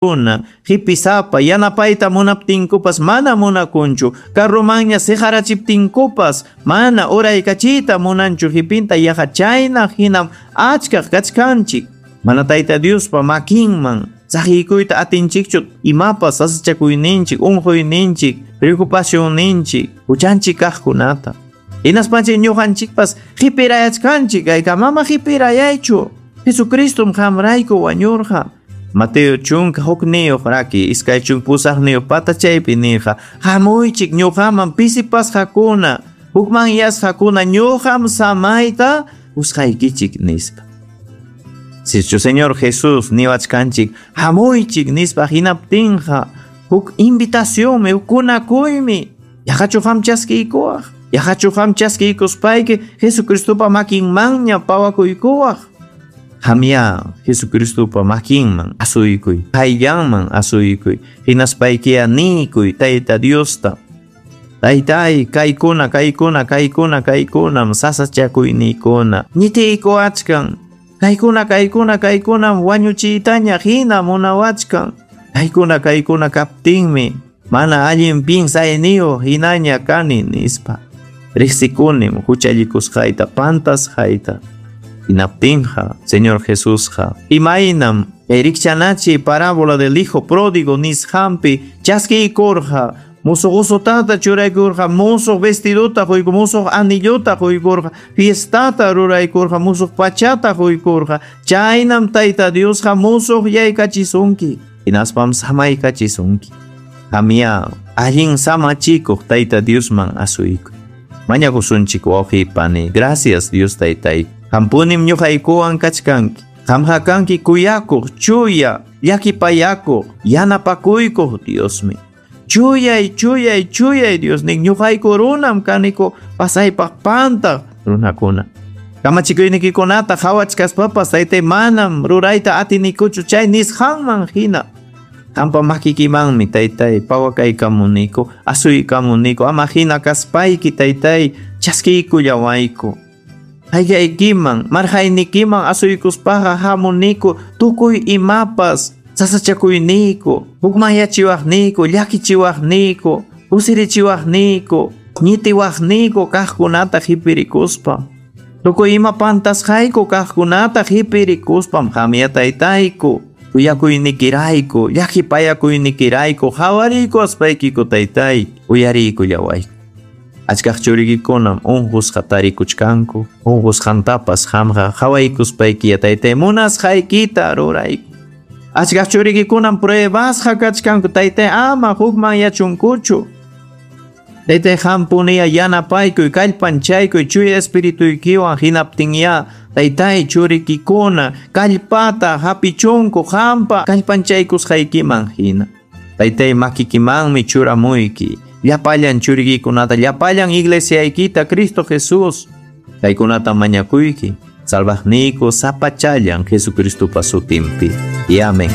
Kuna qipisapa yanapayta munaptinkupas mana munakunchu, carromanña siqarachiptinkupas mana uraykachiyta munanchu qipinta yaqa chayna hinam achkaq kachkanchik. Mana Tayta Diospa makinman saqiykuyta atinchikchu imapas sasachakuyninchik, unquyninchik, preocupacionninchik, huchanchik kaqkunata. Hinaspanchik ñuqanchikpas qipirayachkanchik, kaykamama qipirayaychu. Jesucristum qamrayku wañurqa. Mateo 11 raki 28 patachaypi nirqa, hamuychik ñuqaman pisipasqakuna, hukmanyasqakuna, ñuqam samayta qusqaykichik nispa. Sichu Señor Jesús niwachkanchik, hamuychik nispa hinaptinqa, huk invitacionmi, huk kunakuymi, yaqachu qam chaskiykuwaq, yaqachu qam chaskiykuspayki Jesucristopa makinmanña pawakuykuwaq. Qamya Jesucristopa makinman asuykuy, qayllanman asuykuy, hinaspaykiya niykuy Tayta Diosta. Taytay, kaykuna, kaykuna, kaykuna, kaykunam sasachakuyniykuna, ñitiykuwachkan. Kaykuna, kaykuna, kaykunam wañuchiytaña hina munawachkan. Kaykuna, kaykuna kaptinmi mana allin pinsayniyuq hinaña kani nispa. Riqsikunim huchallikusqayta, pantasqayta. Hinaptinqa, Señor Jesusqa, imaynam kay rikchanachi parábola del hijo pródigo nisqanpi chaskiykurqa, musuq usutata churaykurqa, musuq vestidota quykur, musuq anillota quykurqa, fiestata ruraykurqa, musuq pachata quykurqa. Chaynam Tayta Diosqa musuq yaykachisunki, hinaspam samaykachisunki. Qamya allin samachikuq Tayta Diosman asuykuy. Mañakusunchik wawqi pani. Gracias Dios Taytay. Qampunim ñuqaykuwan kachkanki. Qamqa kanki kuyakuq, chuya, llakipayakuq, yanapakuykuq Diosmi. Chuyay, chuyay, chuyay Diosnin, ñuqayku runam kaniku pasaypaq pantaq runakuna. Kamachikuynikikunata qhawachkaspapas Taytay manam rurayta atinikuchu chay nisqanman hina. Qampa makikimanmi Taytay pawakaykamuniku, asuykamuniku, ama hina kaspayki Taytay chaskiykullawayku. Qayllaykiman, marqaynikiman asuykuspaqa hamuniku tukuy imapas sasachakuyniku, hukmanyachiwaqniyku, llakichiwaqniyku, kusirichiwaqniyku, ñitiwaqniyku kaqkunata qhipirikuspa. Tukuy ima pantasqayku kaqkunata qhipirikuspam qamya Taytayku, kuyakuynikirayku, llakipayakuynikirayku, qhawariykuwaspaykiku Taytay, uyariykullawayku. Achkaq churikikunam unqusqa tarikuchkanku, unqusqantapas qamqa qhawaykuspaykiya Taytay munasqaykita rurayku. Achkaq churikikunam pruebasqa kachkanku Taytay ama hukmanyachunkuchu. Taytay qampuniya yanapaykuy, kallpanchaykuy chuya espirituykiwan hinaptinya Taytay churikikuna kallpata hapichunku qampa kallpanchaykusqaykiman hina. Taytay makikimanmi churamuyki. Llapallan churikikunata, llapallan iglesiaykita Cristo Jesús. Kaykunata mañakuyki, salvaqniyku sapachallan Jesucristopa sutinpi. Y amén.